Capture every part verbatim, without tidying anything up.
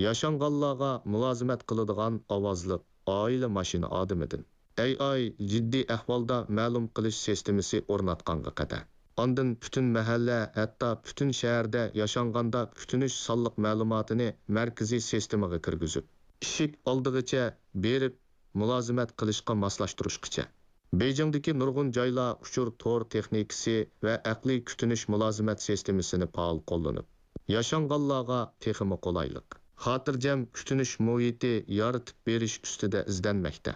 ياشانغانلارغا مۇلازىمەت قىلىدىغان ئاۋازلىق ئائىلە ماشىنا ئادىمىدىن، ئەي ئاي جىددىي ئەھۋالدا مەلۇم قىلىش سىستېمىسى ئورناتقانغا قەدەر. ئاندىن پۈتۈن مەھەللە، ھەتتا پۈتۈن شەھەردە ياشانغاندا كۈتۈنۈش سانلىق مەلۇماتىنى مەركىزىي سىستېمىغا كىرگۈزۈپ، ئىشىك ئالدىغىچە بېرىپ مۇلازىمەت قىلىشقا ماسلاشتۇرۇشقىچە. بېيجىڭدىكى نۇرغۇن جايلار ئۇچۇر تور تېخنىكىسى ۋە ئەقلىي كۈتۈنۈش مۇلازىمەت سىستېمىسىنى پائال قوللىنىپ، ياشانغانلارغا تېخىمۇ قولايلىق، خاتىرجەم كۈتۈنۈش مۇھىتى يارىتىپ بېرىش ئۈستىدە ئىزدەنمەكتە.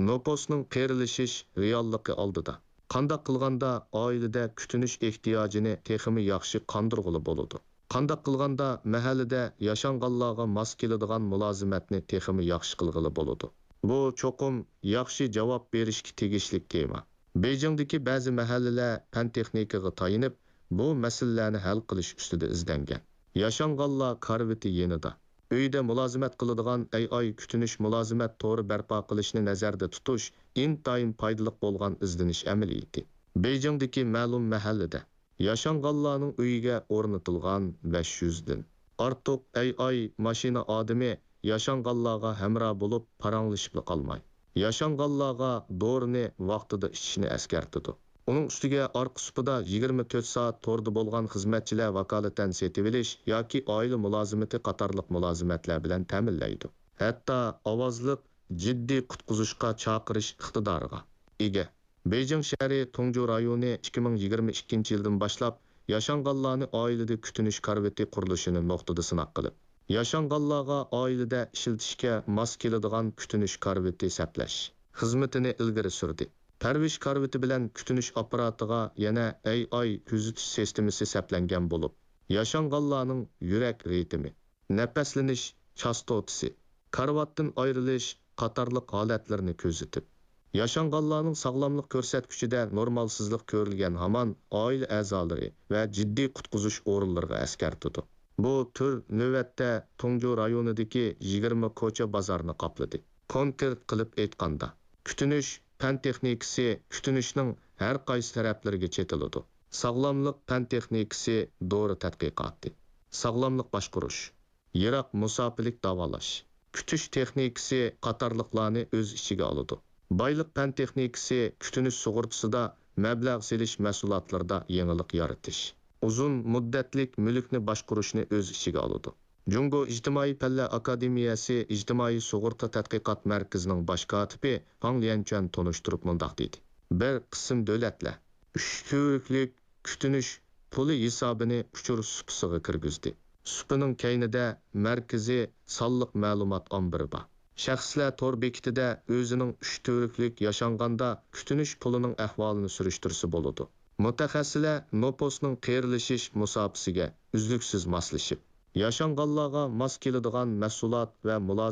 نوپۇسنىڭ قېرىلىشىش رېئاللىقى ئالدىدا، قانداق قىلغاندا ئائىلىدە كۈتۈنۈش ئېھتىياجىنى تېخىمۇ ياخشى قاندۇرغىلى بولىدۇ؟ قانداق قىلغاندا مەھەللىدە ياشانغانلارغا ماس كېلىدىغان مۇلازىمەتنى تېخىمۇ ياخشى قىلغىلى بولىدۇ؟ بۇ چوقۇم ياخشى جاۋاب بېرىشكە تېگىشلىك تېما. بېيجىڭدىكى بەزى مەھەللىلەر پەن-تېخنىكىغا تايىنىپ، بۇ مەسىلىلەرنى ھەل قىلىش ئۈستىدە ئىزدەنگەن. ياشانغانلار كارىۋىتى يېنىدا، ئۆيدە مۇلازىمەت قىلىدىغان ئەي ئاي كۈتۈنۈش مۇلازىمەت تورى بەرپا قىلىشنى نەزەردە تۇتۇش ئىنتايىن پايدىلىق بولغان ئىزدىنىش ئەمەلىيىتى. بېيجىڭدىكى مەلۇم مەھەللىدە ياشانغانلارنىڭ ئۆيىگە ئورنىتىلغان بەش يۈزدىن ئارتۇق ئەي ئاي ماشىنا ئادىمى ياشانغانلارغا ھەمراھ بولۇپ پاراڭلىشىپلا قالماي، ياشانغانلارغا دورىنى ۋاقتىدا ئىچىشنى ئەسكەرتىدۇ. ئۇنىڭ ئۈستىگە ئارقا سۇپىدا يىگىرمە تۆت سائەت توردا بولغان خىزمەتچىلەر ۋاكالىتەن سېتىۋېلىش ياكى ئائىلە مۇلازىمىتى قاتارلىق مۇلازىمەتلەر بىلەن تەمىنلەيدۇ. ھەتتا ئاۋازلىق جىددىي قۇتقۇزۇشقا چاقىرىش ئىقتىدارىغا ئىگە. بېيجىڭ شەھىرى تۇڭجۇ رايونى ئىككى مىڭ يىگىرمە ئىككىنچى يىلدىن باشلاپ ياشانغانلارنى ئائىلىدە كۈتۈنۈش كارىۋىتى قۇرۇلۇشىنى نۇقتىدا سىناق قىلىپ، ياشانغانلارغا ئائىلىدە ئىشلىتىشكە ماس كېلىدىغان كۈتۈنۈش كارىۋىتى سەپلەش خىزمىتىنى ئىلگىرى سۈردى. پەرۋىش كارىۋىتى بىلەن كۈتۈنۈش ئاپپاراتىغا يەنە ئەي ئاي كۆزىتىش سىستېمىسى سەپلەنگەن بولۇپ، ياشانغانلارنىڭ يۈرەك رىتىمى، نەپەسلىنىش چاستوتىسى، كارىۋاتتىن ئايرىلىش قاتارلىق ھالەتلىرىنى كۆزىتىپ، ياشانغانلارنىڭ ساغلاملىق كۆرسەتكۈچىدە نورمالسىزلىق كۆرۈلگەن ھامان ئائىلە ئەزالىرى ۋە جىددىي قۇتقۇزۇش ئورۇنلىرىغا ئەسكەرتىدۇ. بۇ تۈر نۆۋەتتە تۇڭجۇ رايونىدىكى يىگىرمە كوچا بازارنى قاپلىدى. كونكرېت قىلىپ ئېيتقاندا، كۈتۈنۈش پەن تېخنىكىسى كۈتۈنۈشنىڭ ھەر قايسى تەرەپلىرىگە چېتىلىدۇ. ساغلاملىق پەن تېخنىكىسى دورا تەتقىقاتى، ساغلاملىق باشقۇرۇش، يىراق مۇساپىلىك داۋالاش، كۈتۈش تېخنىكىسى قاتارلىقلارنى ئۆز ئىچىگە ئالىدۇ. بايلىق پەن تېخنىكىسى كۈتۈنۈش سۇغۇرتىسىدا مەبلەغ سېلىش مەھسۇلاتلىرىدا يېڭىلىق يارىتىش، ئۇزۇن مۇددەتلىك مۈلۈكنى باشقۇرۇشنى ئۆز ئىچىگە ئالىدۇ. جۇڭگو ئىجتىمائىي پەنلەر ئاكادېمىيەسى ئىجتىمائىي سۇغۇرتا تەتقىقات مەركىزىنىڭ باش كاتىپى فاڭ ليەنچۈەن تونۇشتۇرۇپ مۇنداق دېدى: بىر قىسىم دۆلەتلەر ئۈچ تۈۋرۈكلۈك كۈتۈنۈش پۇلى ھېسابىنى ئۇچۇر سۇپىسىغا كىرگۈزدى. سۇپىنىڭ كەينىدە مەركىزىي سانلىق مەلۇمات ئامبىرى بار. شەخسلەر تور بېكىتىدە ئۆزىنىڭ ئۈچ تۈۋرۈكلۈك ياشانغاندا كۈتۈنۈش پۇلىنىڭ ئەھۋالىنى سۈرۈشتۈرسە بولىدۇ. مۇتەخەسسىسلەر نوپۇسنىڭ قېرىلىشىش مۇساپىسىگە ئۈزلۈكسىز ماسلىشىپ، ياشانغانلارغا ماس كېلىدىغان مەھسۇلات ۋە مۇلازىمەت